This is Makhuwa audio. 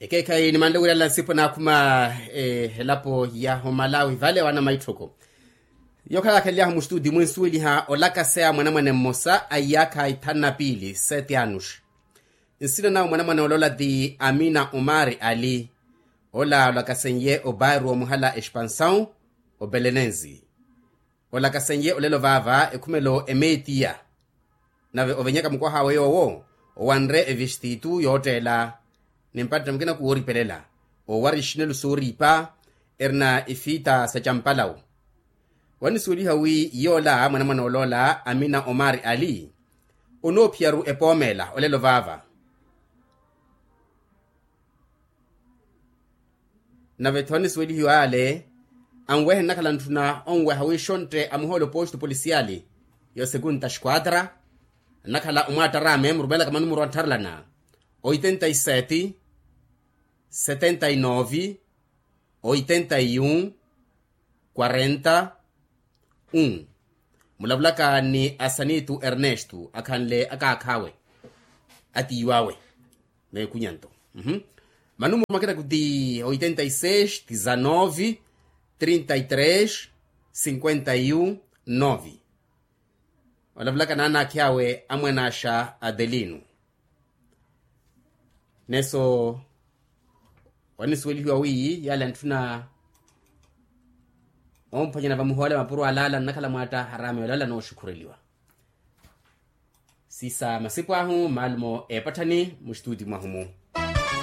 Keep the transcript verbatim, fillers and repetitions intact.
Ekeekhayi nimanle wiirela nsipu naakhuma elapo ya homalawi vale wana maitthoko. Yookhala yaakhalelyahu mustudi mwinsuweliha olakaseya mwanamwane mmosa a iyaakha ithanu na piili sete anush. Nsina nawe mwanamwane oloola ti amina omari ali. Ola olakasenye obairu omuhala expansaw obelenenzi. Olakasenye olelo vaava ekhumelo emetiya. Nave ovenyaka mukwaha awe yoowo owanre evistitu yootteela. Nimpatta mukina kuwooripelela owari ixinelu sooriipa erina ifiita sa campalawu. Wanisuweliha wi yoola mwanamwana oloola amina omari ali onoophiyaru epoomeela olelo vaava. Nave-tho anisuwelihiwa ale anwehe nnakhala ntthuna onweha wi xontte amuhoole oposto polisiyali yo sekunta xquatra. Nnakhala omwaattaraame murumelaka manumuru anttharelana oitenta y sete, setenta y nove, oitenta y un, quarenta, un. Mulavulaka ni asanitu ernesto akhanle akaakhawe atiiwawe. Meekunyanto. Manumuru makina kuti oitenta y seis, dizanove, trinta y tres, cinquenta y un, nove. Olavulaka naanaakhi awe amwanaaxa adelino. Neso wanisuwelihiwa wi yale antthuna omphwanyana vamuhoole mapuro alaala nnakhala mwaatta haraami olaala nooxukhureliwa. Siisa masipu ahu maalumo eepatthani muxituti mwahu mu.